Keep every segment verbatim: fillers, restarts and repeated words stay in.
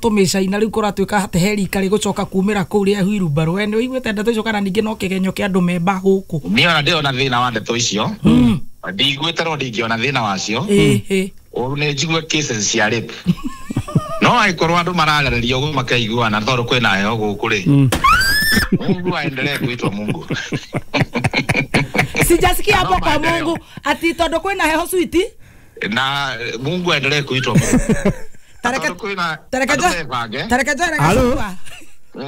Tũmĩcaina rĩu kũratuĩka atĩ he rika rĩgũcoka kumĩra kũu rĩa wheelbarrow. We nĩ ũiguĩte ndeto icio kana ningĩ no kĩgenyo kĩa andũ memba gũkũ? Niĩ ona ndĩrona thĩna wa ndeto icio, ndiguĩte no ndingĩona thĩna wacio. Ĩĩ ĩĩ. Ũru nĩ njigue cases cia rape, no angĩkorwo andũ mararĩrĩria ũguo makaiguana tondũ kwĩna heho gũkũ rĩ, Mungu aendelee kuitwa Mungu. Sijasikia hapo No kwa maendeleo. Mungu ati tondũ kwĩna heho switi. Na Mungu aendelee kuitwa Mungu. Tareke Tondũ kwĩna tareke andũ njoe mebange. Tareke njoere Halo? Gachagua.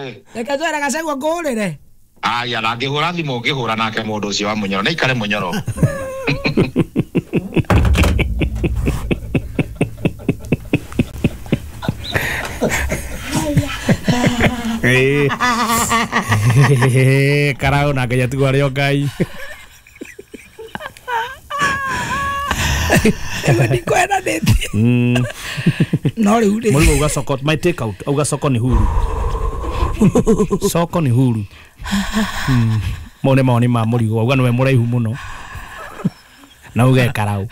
Eh. Reke njoere Gachagua ngũrĩre. Aya, na angĩhũra thimũ ũngĩhũra nake mũndũ ũcio wa Mũnyoro nĩ aikare Mũnyoro. Eh. Karau na ngai atigwo arĩ o Ngai. Ĩyo ndikwendanĩtie. Mm. No rĩu rĩ Mũrigo uga soko, my take out auga soko ni huru, soko ni huru. Mm. Mau nĩ mawoni ma Mũrigo, auga nĩwe mũraihu mũno na uge karau.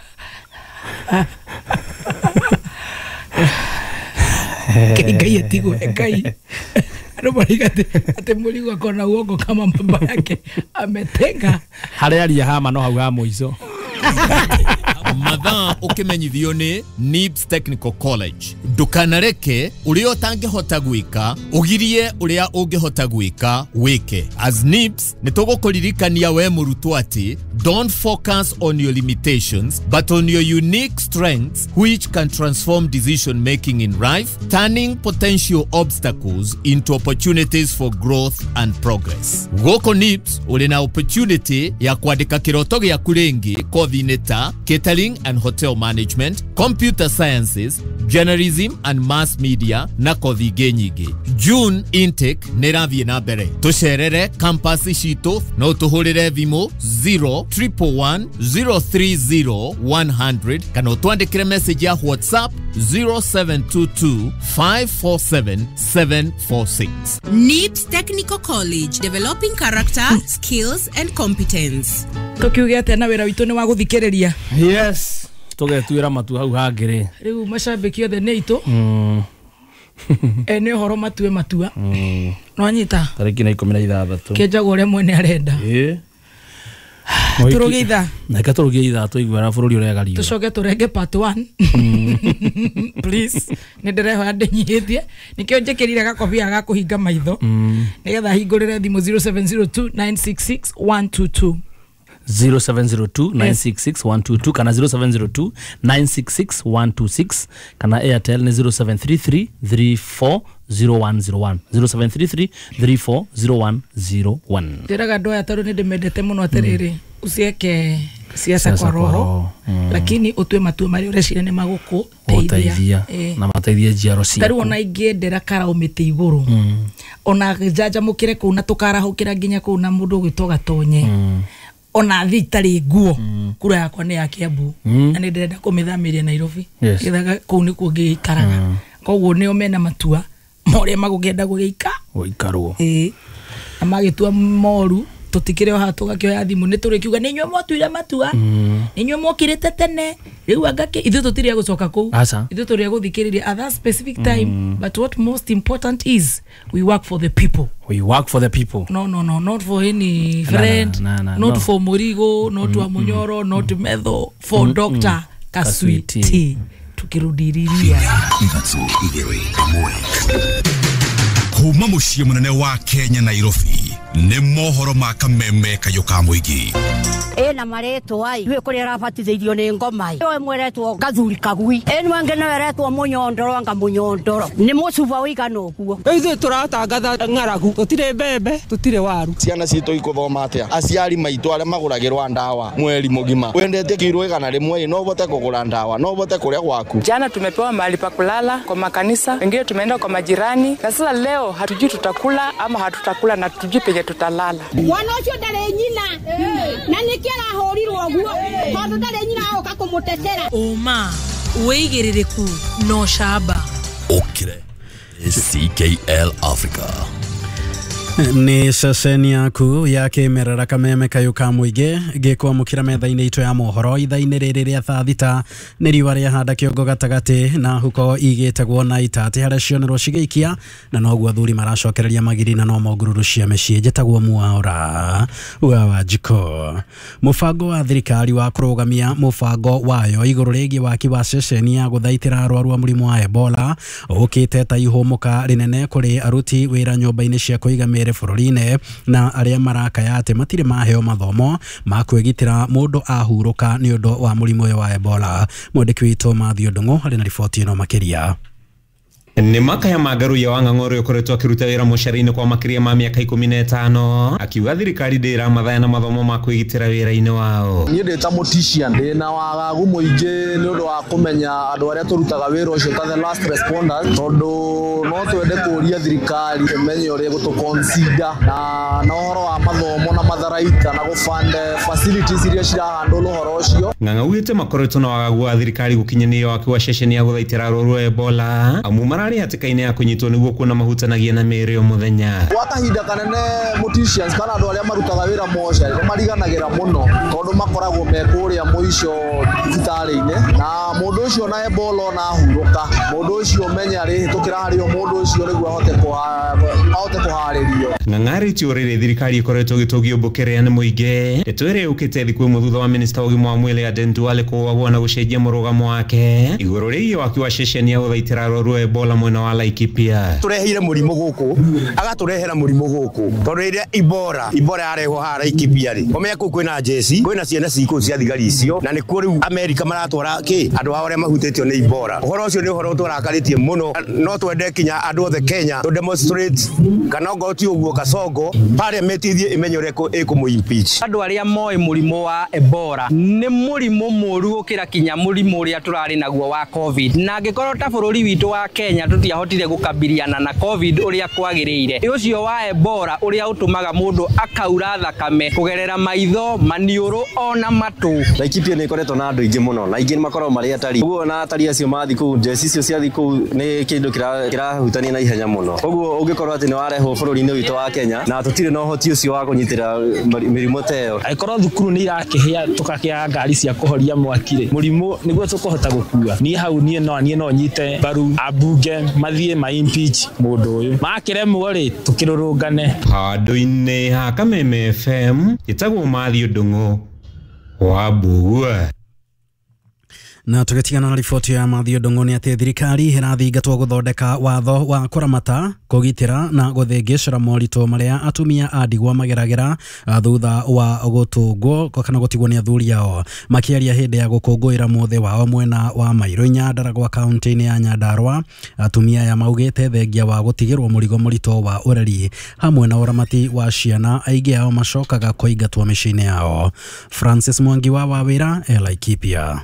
Ngai Ngai atigwo Ngai. Andũ marauga atĩ atĩ Mũrigo akona uongo kama baba yake ametenga. Harĩa aria hama no hau ha mũico. Mathaa ũkĩmenyithio nĩ NIBS Technical College. Ndũkanareke ũrĩa ũtangĩhota gwĩka ũgirie ũrĩa ũngĩhota gwĩka wĩke. As NIBS nĩ tũgũkũririkania we mũrutwo atĩ don't focus on your limitations but on your unique strengths, which can transform decision making in life, turning potential obstacles into opportunities for growth and progress. Gũkũ NIBS ũrĩ na opportunity ya kwandĩka kĩroto gĩaku rĩngĩ kothi-inĩ ta catering and hotel management, computer sciences, journalism and mass media na kothi ingĩ nyingĩ. June intake nĩ ĩrathiĩ na mbere. Tũcerere campus citũ, no tũhũrĩre thimũ zero triple one zero three zero one hundred kana ũtwandĩkĩre message ya WhatsApp zero seven two two five four seven seven four six. NIBS Technical College, developing character, skills, and competence. Tũkiuge atĩa na wĩra witũ nĩ wa gũthikĩrĩria. Yes, tũgetuĩra matu hau hangĩ rĩ. Rĩu macambĩki othe nĩ aitũ. Mm. Ene ũhoro matue matua. Mm. Nwanyita. Tarĩki na ikũmi na ithathatũ. Kĩenjagwo ũrĩa mwene arenda. Ĩĩ. Tũrũgie ithaa. Na reke tũrũgie ithaa tũiguana bũrũri ũrĩa gariũra. Tũcoke tũrenge part one, please. Nĩ ndĩrehoya ndĩnyihĩtie, nĩkĩo njĩkĩrire gakobia ga kũhinga maitho nĩgetha hingũrĩre thimũ zero seven zero two nine six six one two two. zero seven zero two nine six six one two two kana zero seven zero two nine six six one two six kana Airtel nĩ zero seven three three three four zero one zero one, zero seven three three three four zero one zero one. Njĩraga andũ aya tondũ nĩ ndĩmendete mũno atĩrĩrĩ, usieke siasa kwa roho, lakini utue matua marĩa ũreciria nĩ magũkũteithia. Gũteithia. Ĩĩ. Na mateithie njiaro tarĩu ciaku. Ona ingĩendera karau mĩtĩ igũrũ, ona njanjamũkĩre kũu na tũkarahũkĩra nginya kũu na mũndũ ũgwĩtwo Gatonye, ona thiĩ itarĩ nguo, kura yakwa nĩ ya Kiambu na nĩ ndĩrenda kũmĩthamĩria Nairobi. Yes. Gethaga kũu nĩkuo ngĩikaraga, koguo nĩo mena matua ma ũrĩa magũkĩenda gũgĩika. Gũikarwo. Ĩĩ, na magĩtua moru tũtikĩrĩ o haha tũgakĩoya thimũ nĩ tũrĩkiuga nĩ inyuĩ mwatuire matua, nĩ inyuĩ mwokĩrĩte tene, rĩu anga kĩ ithuĩ tũtirĩ a gũcoka kũu. Aca. Ithuĩ tũrĩ a gũthikĩrĩria at that specific time, but what most important is we work for the people. We work for the people. No, no, no, not for any Na, friend, na, na, not no. for Murigo, not wa Munyoro, not Metho, for Doctor Kaswiti. Kaswiti. Tukirudiriria Ithatũ igĩrĩ ĩmwe kuma mũciĩ mũnene wa Kenya, Nairobi, nĩ mohoro ma kameme kayũ ka mũingĩ. Ĩna marĩtwa ai gwĩ kũrĩa arabatithĩirio nĩ ngoma ĩ ĩmwe ĩretwo gathuri kagui, ĩno ĩngĩ nayo ĩretwo mũnyondoro, anga mũnyondoro nĩ mũcuba ũigana ũguo. Ithuĩ tũratangatha ng'aragu, tũtirĩ mbembe, tũtirĩ waru. Ciana citũ ikũthoma atĩa? Aciari maitũ arĩa magũragĩrwa ndawa mweri mũgima, wendete kiro igana rĩmwe no ũhote kũgũra ndawa, no ũhote kũrĩa gwaku? Jana tumepewa mahali pa kulala kwa makanisa, wengine tumeenda kwa majirani, na sasa leo hatujui tutakula ama hatutakula na hatujui penye tutalala. Mwana ũcio ndarĩ nyina na nĩkĩo arahũrirwo ũguo tondũ ndarĩ nyina agoka kũmũtetera. Ũma, wĩigĩrĩrĩku na ũcamba. Ũkĩre C K L Africa. Nĩ ceceni yaku ya kĩmerera kameme kayũ ka mũingĩ gĩkwamũkĩra metha-inĩ itũ ya mohoro ithaa-inĩ rĩrĩ rĩa thaa thita nĩ riũa rĩahanda kĩongo gatagatĩ na huko igĩtagwo na itatĩ harĩa cionerwo cigĩikia na noguo athuri maracokereria magiri na no mongururu cia mĩciĩ. Njĩtagwo Mwaura wa Wanjikũ. Mũbango wa thirikari wa kũrũgamia mũbango wayo igũrũ rĩgiĩ waki wa ceceni ya gũthaitĩra arwaru a mũrimũ wa Ebola ũkĩte ta ihũmũka rĩnene kũrĩ aruti wĩra nyũmba-inĩ cia kũiga mĩĩrĩ bũrũri-inĩ na arĩa marakaya atĩ matirĩ maheo mathomo ma kwĩgitĩra mũndũ ahurũka nĩ ũndũ wa mũrimũ ũyũ wa Ebola. Mwandĩki witũ Matthew Ndung'u arĩ na riboti ĩno makĩria. Nĩ makaya ma Ngaruiya wa Ng'ang'a ũrĩa ũkoretwo akĩruta wĩra mũcara-inĩ kwa makĩria ma mĩaka ikũmi na ĩtano akiuga thirikari ndĩramathaya na mathomo ma kwĩgitĩra wĩra-inĩ wao. Niĩ ndĩ ta mũtician ndĩ na wagagu mũingĩ nĩ ũndũ wa kũmenya andũ arĩa tũrutaga wĩra ũcio ta the last responders, tondũ no twende kũria thirikari ĩmenye ũrĩa ĩgũtũ-consider na na ũhoro wa mathomo na matharaita na gũ-fund facilities iria cirahandle ũhoro ũcio. Ng'ang'a augĩte makoretwo na wagagu wa thirikari gũkinyanĩria waki wa ceceni ya gũthaitĩra arwaru a Ebola amu mararĩ hatĩka-inĩ ya kũnyitwo nĩguo kuona mahutanagia na mĩĩrĩ o mũthenya. Gwa kahinda kanene morticians kana andũ arĩa marutaga wĩra mocarĩ nĩ mariganagĩra mũno tondũ makoragwo me kũrĩa mũico thibitarĩ-inĩ na mũndũ ũcio na Ebola ona ahurũka mũndũ ũcio menye arĩhĩtũkĩra harĩ o mũndũ ũcio nĩguo ahote ahote kũharĩrio. Ng'ang'a arĩtie ũrĩrĩ thirikari ĩkoretwo ĩgĩtũgio mbũkĩrĩa nĩ mũingĩ ndeto ĩrĩa yũkĩte thikũ ĩmwe thutha wa minista wa ũgima wa mwĩrĩ Aden Duale kũũagwo na gũcenjia mũrũgamo wake igũrũ rĩgiĩ waki wa ceceni ya gũthaitĩra arwaru a Ebola mwena wa Laikipia. Tureheire mũrimũ gũkũ agatũrehera mũrimũ gũkũ tondũ rĩrĩa Ebola Ebola yarehwo haha Laikipia rĩ ũmenye kũu kwĩna jeci kwĩna ciana cikũu cia thigari icio na nĩkuo rĩu Amerika maratwara kĩ andũ ao arĩa mahutĩtio nĩ Ebola. Ũhoro ũcio nĩ ũhoro tũrakarĩtie mũno, no twende kinya andũ othe Kenya to demonstrate kana ongorwo ti ũguo Kasongo parliament ithiĩ ĩmenye ũrĩa ĩkũmũ impeach. Andũ arĩa moĩ mũrimũ wa Ebola nĩ mũrimũ mũru gũkĩra kinya mũrimũ ũrĩa tũrarĩ naguo wa Covid, na angĩkorwo ta bũrũri witũ wa Kenya tũtiahotire gũkabiliana na Covid ũrĩa kwagĩrĩire, ũcio wa Ebola ũrĩa ũtũmaga mũndũ akaura thakame kũgerera maitho, maniũrũ ona matũ. Laikipia nĩ ĩkoretwo na andũ aingĩ mũno na aingĩ nĩ makoragwo marĩ atari, ũguo na atari acio mathiĩ kũu njeci icio ciathiĩ kũu nĩ kĩndũ kĩrahutania na ihenya mũno, ũguo ũngĩkorwo atĩ nĩ warehwo bũrũri-inĩ witũ wa Kenya na tũtirĩ na ũhoti ũcio wa kũnyitĩra mĩrimũ ta ĩyo. Angĩkorwo thukuru nĩ irakĩhĩa tũkakĩaga ngari cia kũhoria mwaki rĩ, mũrimũ nĩguo tũkũhota gũkua. Niĩ hau niĩ no niĩ no nyite mbaru ambunge mathiĩ ma impeach mũndũ ũyũ, makĩremwo rĩ tũkĩrũrũngane. Handũ-inĩ ha Kameme F M ĩtagwo Matthew Ndung'u wa Mbugua. Na tũgĩtigana na riboti ya Matthew Ndung'u nĩ atĩ thirikari ĩrathingatwo gũthondeka watho wa kũramata kũgitĩra na gũthĩngĩcĩra moritũ marĩa atumia a ndigwa mageragĩra thutha wa gũtũngwo kana gũtigwo nĩ athuri ao. Makĩaria hĩndĩ ya gũkũngũĩra mũthĩ wao mwena wa Mairũ Nyandarua kaunti-inĩ ya Nyandarua, atumia aya maugĩte thengia wa gũtigĩrwo mũrigo mũritũ wa ũreri hamwe na ũramati wa ciana, aingĩ ao macokaga kũingatwo mĩciĩ-inĩ yao. Francis Mwangi wa Wawĩra, Laikipia.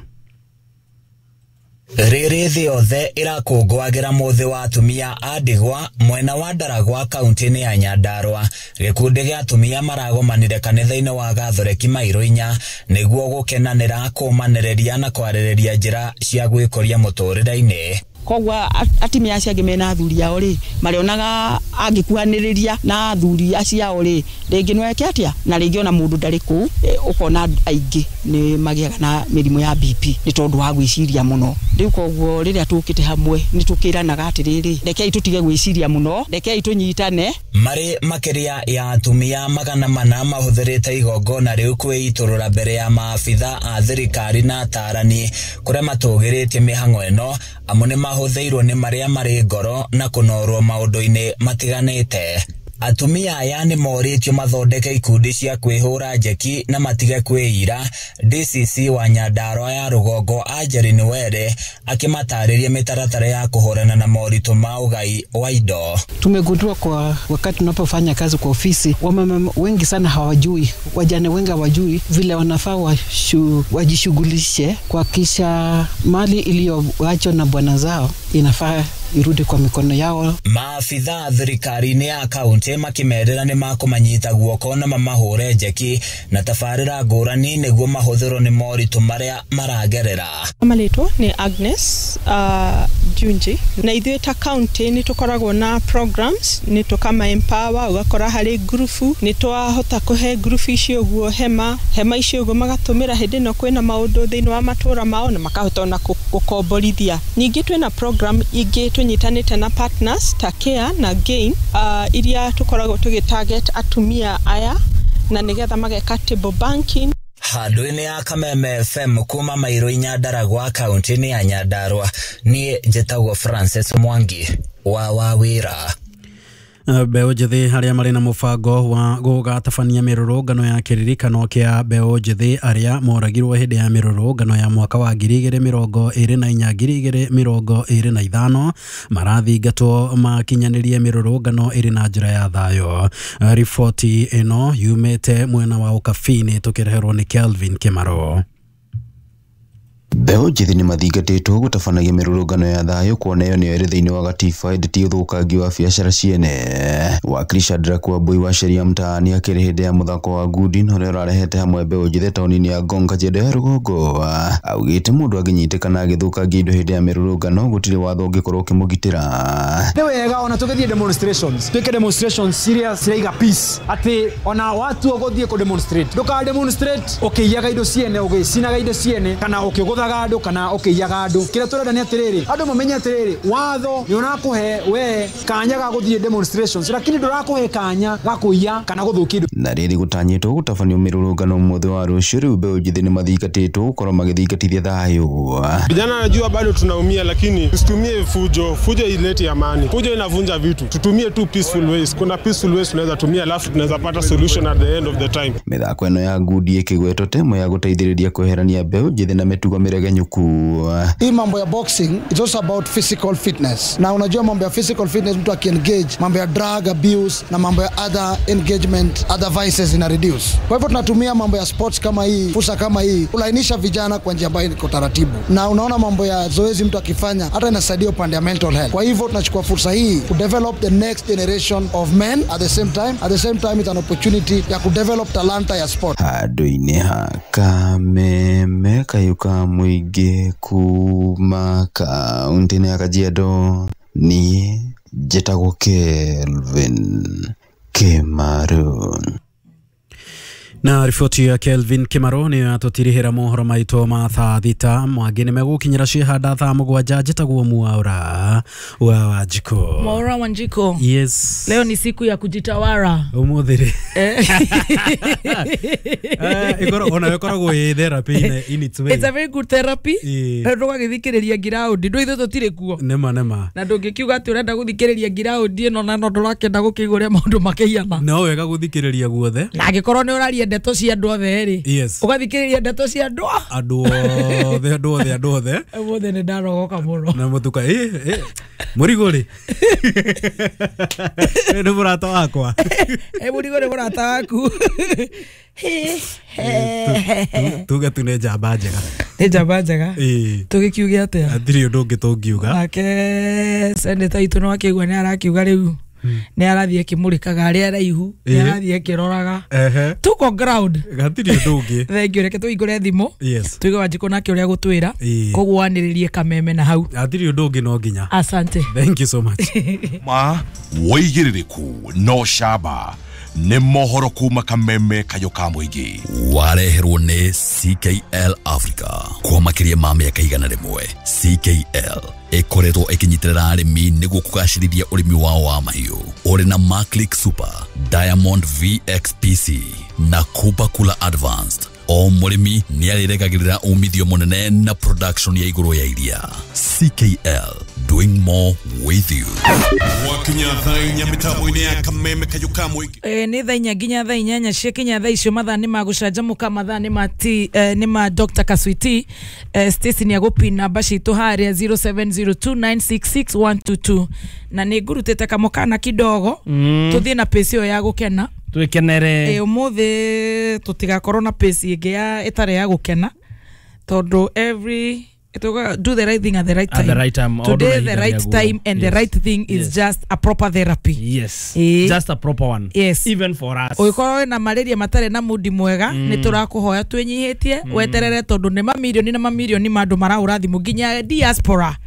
Rĩrĩ thĩ yothe ĩrakũngũagĩra mũthĩ wa atumia a ndigwa mwena wa Ndaragwa kaunti-inĩ ya Nyandarua, gĩkundi gĩa atumia maragomanire kanitha-inĩ wa Gathoreki Mairũ inya nĩguo gũkenanĩra, kũmanĩrĩria na kwarĩrĩria njĩra cia gwĩkũria mũtũrĩre-inĩ. Koguo atumia acio angĩ mena athuri ao rĩ marĩonaga angĩkuhanĩrĩria na athuri acio ao rĩ rĩngĩ no eke atĩa, na rĩngĩ ona mũndũ ndarĩ kũu ũkona aingĩ nĩ magĩaga na mĩrimũ ya B P nĩ tondũ wa gwĩciria mũno. Rĩu koguo rĩrĩa tũkĩte hamwe nĩ tũkĩranaga atĩrĩrĩ, rekei tũtige gwĩciria mũno, rekei tũnyitane. Marĩ makĩria ya atumia magana mana mahũthĩrĩte igongona rĩu kwĩitũrũra mbere ya maabitha a thirikari na atarani kũrĩa matũgĩrĩtie mĩhang'o ĩno amu nĩ mahũthĩirwo nĩ marĩa marĩ ngoro na kũnorwo maũndũ-inĩ matiganĩte. Atumia aya nĩ morĩtio mathondeke ikundi cia kwĩhũra njeki na matige kwĩira. D C C wa Nyandarua ya rũgongo Angeline Were akĩmatarĩria mĩtaratara ya kũhũrana na moritũ ma ũgai wa indo. Tumegundua kwa wakati tunapofanya kazi kwa ofisi, wamama wengi sana hawajui, wajane wengi hawajui vile wanafaa wajishughulishe kuhakikisha mali iliyoachwa na bwana zao inafaa irudi kwa mikono yao. Maabitha thirikari-inĩ ya kaunti makimerĩra nĩ makũmanyita guoko na mamahũre njeki na tabarĩra ngũrani nĩguo mahũthĩrwo nĩ moritũ marĩa maragerera. Marĩtwa nĩ Agnes uh, Junji na ithuĩ ta kaunti nĩ tũkoragwo na programs nĩ tũkama empower ũgakora harĩ ngurubu nĩ twahota kũhe ngurubu icio ũguo hema hema icio ũguo magatũmĩra hĩndĩ ĩno kwĩna maũndũ thĩinĩ wa matũra mao na makahota ona gũkomborithia. Ningĩ twĩna program ingĩ tũnyitanĩte na partners ta Care na Gain uh, iria tũkoragwo tũgĩ target atumia aya na nĩgetha mageka table banking. Handũ-inĩ ya Kameme F M kuma Mairũ Nyandaragwa kaunti-inĩ ya Nyandarua, niĩ njĩtagwo Francis Mwangi wa Wawĩra. Mbeũ njĩthĩ arĩa marĩ na mũbango wa gũgatabania mĩrũrũngano ya kĩririkano kĩa mbeũ njĩthĩ arĩa moragirwo hĩndĩ ya mĩrũrũngano ya mwaka wa ngiri igĩrĩ mĩrongo ĩrĩ na inya ngiri igĩrĩ mĩrongo ĩrĩ na ithano marathingatwo makinyanĩrie mĩrũrũngano ĩrĩ na njĩra ya thayũ. Riboti ĩno yumĩte mwena wa Ũkabi-inĩ tũkĩreherwo nĩ Kelvin Kĩmaro. Mbeũ njĩthĩ nĩ mathingatĩtwo gũtabanagia mĩrũrũngano ya thayũ kuona ĩyo nĩyo ĩrĩ thĩinĩ wa gatiba ĩndĩ ti ũthũkangi wa biacara ciene. Wakiri Shadrack Wambui wa sheria mtaani akĩrĩ hĩndĩ ya mũthako wa ngundi ũrĩa ũrarehete hamwe mbeũ njĩthĩ taũni-inĩ ya Ngong Kajiado ya rũgongo augĩte mũndũ angĩnyitĩkana agĩthũkangia indo hĩndĩ ya mĩrũrũngano gũtirĩ watho ũngĩkorwo ũkĩmũgitĩra. Nĩ wega ona tũgĩthiĩ demonstrations twĩke demonstrations iria ciraiga peace atĩ ona watu ũgũthiĩ kũ demonstrate ndũka demonstrate ũkĩiyaga indo ciene ũgĩcinaga indo ciene kana ũkĩgũthaga andũ kana ũkĩiyaga andũ. Kĩrĩa tũrenda nĩ atĩrĩrĩ andũ mamenye atĩrĩrĩ watho nĩ ũrakũhe we kanya ga gũthiĩ demonstrations lakini ndũrakũhe kanya ga kũiya kana gũthũkia indo. Na rĩrĩ gũtanyĩtwo gũtabanio mĩrũrũngano mũthĩ wa rũciũ rĩu mbeũ njĩthĩ nĩ mathingatĩtwo gũkorwo magĩthingatithia thayũ. Vijana najua bado tunaumia, lakini tusitumie fujo. Fujo ileti amani, fujo inavunja vitu. Tutumie tu peaceful ways. Kuna peaceful ways tunaweza tumia, alafu tunaweza pata solution at the end of the time. Mĩthako ĩno ya ngundi ĩkĩgwetwo temo ya gũteithĩrĩria kweherania mbeũ njĩthĩ na mĩtugo mĩregenyũku. Hii mambo ya boxing it's also about physical fitness. Na unajua mambo ya physical fitness, mtu akiengage mambo ya drug abuse na mambo ya other engagement, other vices ina reduce. Kwa hivyo tunatumia mambo ya sports kama hii, fursa kama hii kulainisha vijana kwa njia ambayo iko taratibu. Na unaona mambo ya zoezi mtu akifanya hata inasaidia upande ya mental health. Kwa hivyo tunachukua fursa hii ku develop the next generation of men at the same time. At the same time it's an opportunity ya ku develop talanta ya sport. Handũ-inĩ ha Kameme kayuka mũingĩ kuma kaunti-inĩ ya Kajiado, niĩ njĩtagwo Kelvin Kĩmaru. Na riboti ya Kelvin Kimaro nĩ yatũtirihĩra mohoro maitũ ma thaa thita mangĩ nĩ megũkinyĩra ciĩhanda thaa mũgwanja. Njĩtagwo Mwaura wa Wanjikũ. Mwaura Wanjikũ. Yes. Leo ni siku ya kujitawara. Ũmũthĩ rĩ. Eh, ikoro ona ĩkoragwo ĩ therapy in, in its way. It's a very good therapy. Ndũgagĩthikĩrĩria ngiraũndi ndũ ithuĩ tũtirĩ kuo. Nĩma nĩma. Na ndũngĩkiuga atĩ ũrenda gũthikĩrĩria ngiraũndi ĩno na no ndũrakĩenda gũkĩigua ũrĩa maũndũ makĩhiana. No wega gũthikĩrĩria guothe. Na angĩkorwo nĩ ũraria ndeto cia andũ othe rĩ, ũgathikĩrĩria ndeto cia andũ andũ othe andũ othe andũ othe ũmũthĩ nĩ ndarogoka mũno na mũtuka ĩ ĩ mũrigo rĩ nĩ mũrata wakwa ĩ mũrigo nĩ mũrata waku. Tuge tu nĩ njamba njega, nĩ njamba njega. Tũgĩkiuge atĩa? Hatirĩ ũndũ ũngĩ tũngiuga. Nake seneta itũ no akĩigua nĩ arakiuga rĩu nĩ arathiĩ akĩmũrĩkaga arĩa araihu, nĩ arathiĩ akĩroraga tuko ground hatirĩ ũndũ ũngĩ. Thank you. Reke tũhingũre thimũ tuige Wanjikũ nake ũrĩa gũtwĩra koguo wanĩrĩrie Kameme na hau hatirĩ ũndũ ũngĩ no nginya. Asante, thank you so much. Ma wĩigĩrĩrĩku no camba nĩ mohoro kuma Kameme kayo ka mũingĩ wareherwo nĩ C K L Africa kwa makĩria ma mĩaka igana rĩmwe. C K L ĩkoretwo ĩkĩnyitĩrĩra arĩmi nĩguo kũgacĩrithia ũrĩmi wao wa mahiũ ũrĩ na Maclick Super, Diamond V X P C na Kupa Kula Advanced. O mũrĩmi nĩarĩrekagĩrĩra umithio mũnene na production ya igũrũ ya iria. C K L, doing more with you. Wakinya thaa inya mĩtambo-inĩ ya Kameme kayo ka mũingĩ. Eh, nĩ thaa inya nginya thaa inyanya ciakinya thaa icio mathaa nĩ ma gũcanjamũka, mathaa nĩ ma ti eh, nĩ ma Doctor Kaswiti. eh, Stacy nĩ agũpin namba citũ harĩa zero seven zero two nine six six one two two na nĩ ngurutĩte kamũkana kidogo mm. Tũthiĩ na pace ĩyo ya gũkena twikenere. Eh, ũmũthĩ tũtigakorwo na pace ĩngĩ ya ĩtarĩ ya gũkena tondũ every Ituga do the right thing at the right At time. the right time, Today order the right ihinda time and the Yes. right thing is Yes. just a proper therapy. Yes. Ĩĩ. Just a proper one. Yes. Even for us. Ũngĩkorwo wĩna malaria matarĩ na mundi mwega, Mm. nĩ tũrakũhoya twĩnyihĩtie weterere, tondũ nĩ mamirioni na mamirioni ma andũ marahũra thimũ nginya diaspora.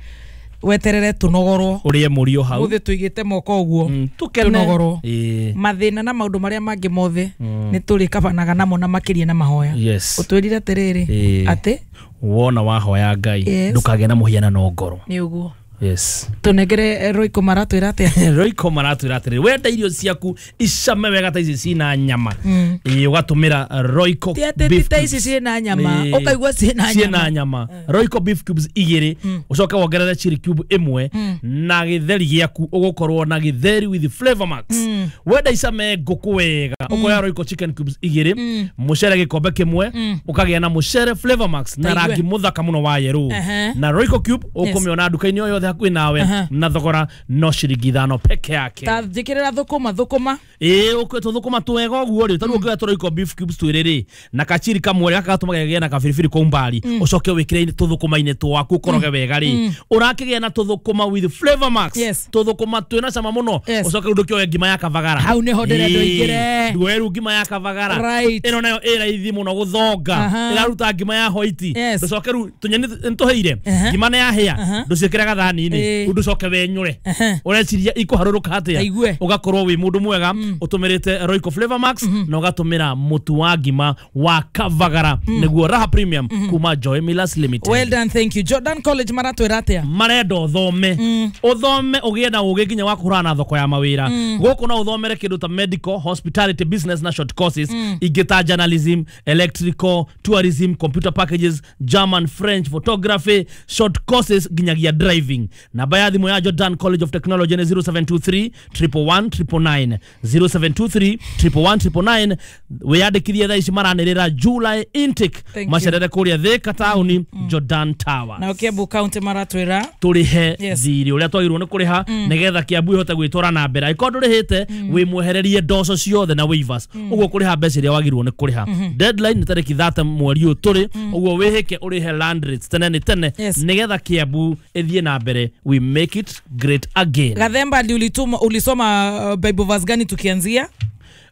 Weterere tũnogorwo. Ũrĩe mũrio hau. Mũthĩ tũigĩte moko ũguo, tũkene. Tũnogorwo. Ĩĩ. Mathĩna na maũndũ marĩa mangĩ mothe Mm. nĩ tũrĩkabanaga namo na makĩria na mahoya. Yes. Ũtwĩrire atĩrĩrĩ, Ĩĩ. atĩ Wona wahoya Ngai, Yes. ndũkagĩe na mũhianano ngoro. Nĩ ũguo. Yes. Tũnengere Roiko maratwĩra atĩa? Roiko maratwĩra atĩrĩrĩ, wenda irio ciaku icame wega ta ici cina nyama, Mm. ĩĩ, ũgatũmĩra Royco Ti atĩ ti beef ta ici cubes. ciĩna nyama, Ĩĩ. ũkaigua ciĩna ciĩna nyama. nyama. Royco beef cubes igĩrĩ, ũcoke wongerere chili cube ĩmwe Mm. na gĩtheri gĩaku, ũgũkorwo na gĩtheri with flavor max. Mm. Wenda icame ngũkũ wega, ũkoya Royco chicken cubes igĩrĩ, Mm. mũcere gĩkombe kĩmwe, Mm. ũkagĩa na mũcere flavor max na Taigue. rangi mũthaka mũno wa yerũ. Ehe. Na Royco cube ũkũmĩona nduka-inĩ o yothe hakuhĩ nawe, Aha. na thogora no ciringi ithano peke yake. Ta njĩkĩrĩra thũkũma thũkũma. Ĩĩ, ũkwe tũthũkũma twega ũguo rĩ, tarĩu ũngĩoya tũroiko beef cubes twĩrĩ rĩ, na kachiri kamwe gaka gatũmaga gĩgĩe na kabiribiri kau mbari, Mm. ũcoke wĩkĩre tũthũkũma-inĩ twaku ũkoroge wega rĩ, Mm. ũrakĩgĩa na tũthũkũma with flavor max. Yes. Tũthũkũma twĩna cama mũno. Yes. Ũcoke rĩu ndũkĩoe ngima ya kavagara. Hau nĩho ndĩrenda Ĩĩ, ũingĩre. nduoe rĩu ngima ya kavagara. Right. Ĩno nayo ĩ raithi mũno gũthonga. Aha. Ĩraruta ngima ya hoiti. Yes. Ndũcoke rĩu tũnyeni nĩtũhĩire, Aha. ngima nĩ yahĩa, Aha. ndũciĩkĩre gathani-inĩ, Ĩĩ. rĩu ndũcoke wenyũre. Ũreciria ikũharũrũka atĩa? Taigue. Ũgakorwo wĩ mũndũ mwega ũtũmĩrĩte Royco Flavor Max na ũgatũmĩra mũtu wa ngima wa kavagara, nĩguo Raha Premium kuma Joy Millers Limited. Well done, thank you. Jordan College maratwĩra atĩa? Marenda ũthome, ũthome ũgĩe na ũgĩ nginya wa kũhũrana na thoko ya mawĩra. Mm. Gũkũ no ũthomere kĩndũ ta medical, hospitality, business na short courses Mm. ingĩ ta journalism, electrical, tourism, computer packages, German, French, photography, short courses nginyagia driving. Namba ya thimũ ya Jordan College of Technology nĩ zero seven two three one one nine nine nine, zero seven two three one one nine nine nine. Wĩyandĩkithie thaa ici, maranĩrĩra July intake. Thank you. Macerere kũrĩa Thika taũni, Jordan Tower. Nao Kiambu County maratwĩra? Tũrĩhe Yes. thirĩ ũrĩa twagĩrĩirwo nĩ kũrĩha, Mm. nĩgetha Kiambu ĩhote gwĩtwara na mbere. Angĩkorwo ndũrĩhĩte, wĩ mwehererie ndoco ciothe na waivers, ũguo kũrĩha mbeca iria wagĩrĩirwo nĩ kũrĩha. Mhm. Deadline nĩ tarĩki thate mweri ũyũ tũrĩ ũguo. Wĩhĩke ũrĩhe land rates tene nĩ tene, Yes. nĩgetha Kiambu ĩthiĩ na mbere. We make it great again. Gathemba, ndi ulituma ulisoma uh, Bible verse gani tukianzia?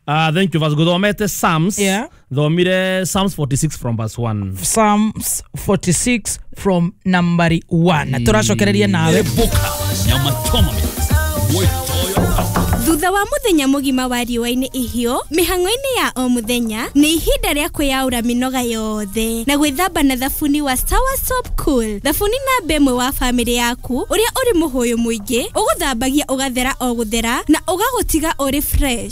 Uh, thank you. Verse guthomete Psalms. Yeah. Thomire Psalms forty-six from verse one. Psalms forty-six from nambari one. Tũracokereria nawe. Nyama choma mix. Thutha wa muthenya mugima wa riũa-inĩ ihiũ mĩhang'o-inĩ ya o mũthenya, nĩ ihinda rĩa kwĩyaũra mĩnoga yothe na gwĩthamba na thabuni wa Sawa Soap Cool, thabuni namba ĩmwe wa bamĩrĩ yaku, ũrĩa ũrĩ mũhũyũ mũingĩ ũgũthambagia ũgathera o gũthera na ũgagũtiga ũrĩ fresh.